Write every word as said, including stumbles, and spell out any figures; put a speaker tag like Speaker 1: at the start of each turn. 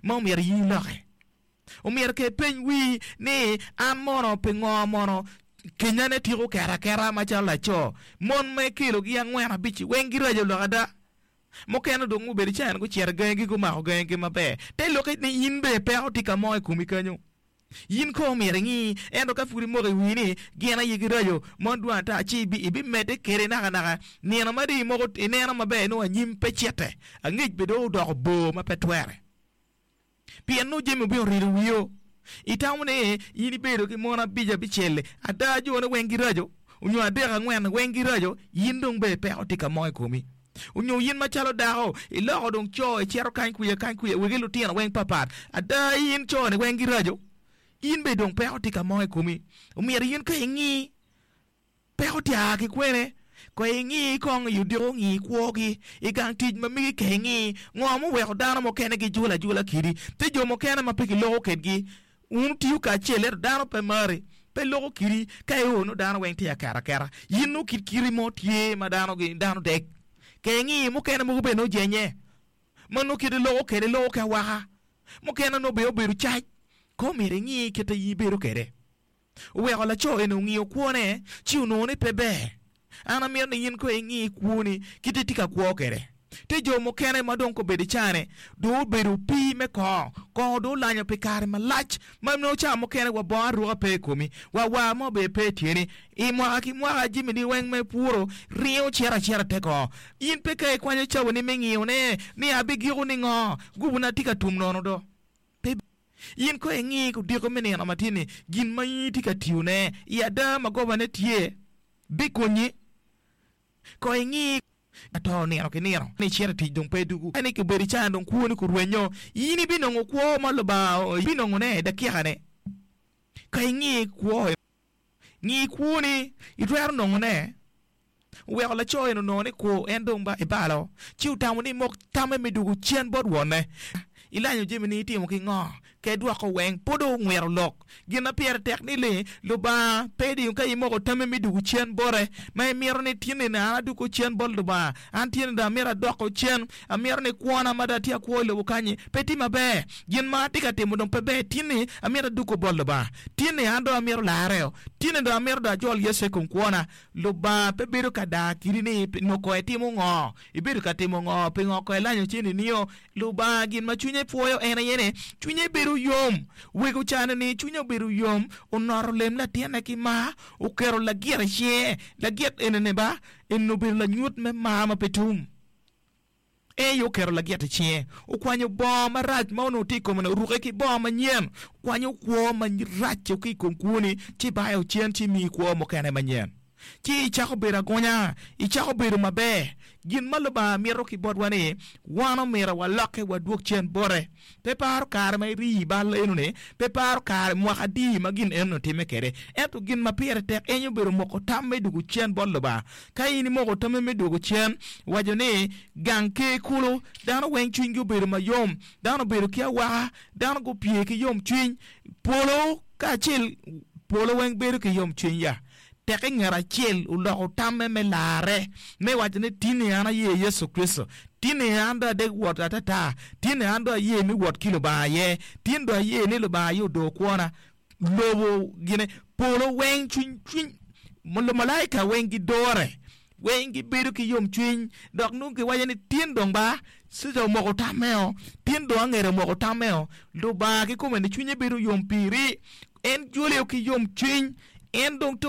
Speaker 1: Ma omyero in iloke. Omyero ke ipeny wii ni, 'An mono pingo mono kenyane tiko keto aketa macalo laco? Mon ma ikelogi angwen abic-ci weng giraco lok ada? Mukene dong gubedo i cawa-ni gucito i gangigi gumako gangigi maber. Te lokke ni in bene peko tye ka mo i komi kenyo. In kong omyero ingi, ento ka pud imoko i wii ni gin aye giraco, mon dwong ata, ci ibimedde kwede nakanaka. Nino ma dong imoko ineno maber nongo anyim pe citte, angec bene dong odoko bor ma pe twere. Pien nongo jami obino rido wio. Itamo ni in ibedo ki mon abic abicel-li, ada jone weng giraco, onyo adek angwen weng giraco, in dong bene peko tye ka mo i komi. Onyo in macalo dako, iloko dong co icito kany kwiya kany kwiya wegi lutino weng papat, ada in co-ni weng giraco, in bene dong peko tye ka mo i komi. Omyero in ka ingi Peko tye a ki kwene? Kong ingi kong i odiko ngi kwogi i gang tic ma megi ka ingi ngo muweko dano mukene gijulo ajula kidi. Tye jo mukene ma pe giloko kedgi. Wun wutiyo kacel ento dano pe mari, pe loko kidi. Ka io nongo dano weng tye aketo aketa. In nongo kit kiti mo tye ma dano dano deg. Ka ingi mukene mogo bene nongo jenye ma nongo kite loko kede loko ki awaka. Mukene nongo bene obedo cac. Kong myero ingi kite in ibedo kede. Oweko laco eni ongiyo kwone ci onongo ni pe ber. An amito ni in kong ingi kwoni kit itye ka kwo kwede. Tye jo mukene ma dong kobedo i cane dong obedo opii me kongo. Kongo dong olanyo pi kare malac ma nongo cawa mukene wa bongo aruka pe i komi, wa war mo bene pe i tyeni. I mwaka ki mwaka jamini weng ma ipuro ringo cito acita te kongo. In pe ka ikwanyo cawani me ngiyone ni abigiko ningo, gubuna tye ka tum nono do. Pe in kong ingi odiko me nino ma tye-ni, gin ma in itye ka tiyone i ada ma gobane tye bikonyi. Kong ingi ato nino ki nino ni icito i tic dong pe idwogo, ni obedo i can dong kwoni kurwenyo, in ibinongo kwo ma Lubanga ibinongone i dakika-ni. Ka ingi kwo, ngi kwoni, itwero nongone. Oweko laco eni onongo ni kwo en dong ba ebalo, ci otamo ni mok tamme me dwogo cen bot wonne. Ilanyo jami ni itimo ki ngo? Ka idwoko weng, pud dong ongwiro lok. Gin ma pire tek ni li, Lubanga pe diyo ka imoko tammi me dwogo cen bote, ma imito ni tin ni an adwogo cen bot Lubanga, an tin ni dong amito adoko cen, amito ni kwona ma dong atye akwo i lobo kanyi pe tye maber, gin ma atye ka timo dong pe ber, tin ni amito adwogo bot Lubanga, tin ni an dong amito larreo, tin ni dong amito dong ajol Yecu i kom kwona. Lubanga pe bedo ka daa kidi ni nongo ko etimo ngo, ibedo ka timo ngo, pingo ko elanyo cen nio. Lubanga gin ma cwinye pwoyo en aye ni cwinye bedo yom. Wego cane ni cwinye obedo yom, onoto lem latinne ki mar, oketo lagit i cinge. Lagit enini ba, enini obedo lanyut me mar ma pe tum. En aye oketo lagit i cinge, okwanyo bongo marac ma onongo tye i kome-ni, oruke ki bongo manyen, okwanyo kwo marac-cu ki i kom kwoni, ci bayo cen ci miyi kwo mukene manyen. Ci icako bedo agonya, icako bedo maber. Gin ma Lubanga mito ki botwa ni wan omyero walokke wadwog cen bote. Pe paro kare ma irii i bal eno-ni, pe paro kare mwaka adi ma gin eno-ni otimme kwede. Ento gin ma pire tek en obedo moko tam me dwogo cen bot Lubanga. Ka in imoko tammi me dwogo cen, waco ni, Gang ker kulu, dano weng cwinygi obedo mayom, dano obedo ki awaka, dano gupye ki yomcwiny, polo kacel polo weng bedo ki yomcwiny ya. Teke ngat acel oloko tamme me larre, me waco ni, Tinni an aye Yecu Kricito. Tinni an dong adek wot atata. Tinni an dong aye me wot ki Lubanga aye. Tin dong aye ni Lubanga aye odor kwona. Lobo gine, polo weng, cwiny, cwiny, lumalaika weng gidore, weng gibedo ki yomcwiny, dok nongo giwaco ni, Tin dong ba, Ceca omoko tammeo, tin dong angera omoko tammeo. Lubanga kikome ni cwinye bedo yom piri. En joleo ki yomcwiny. En dong.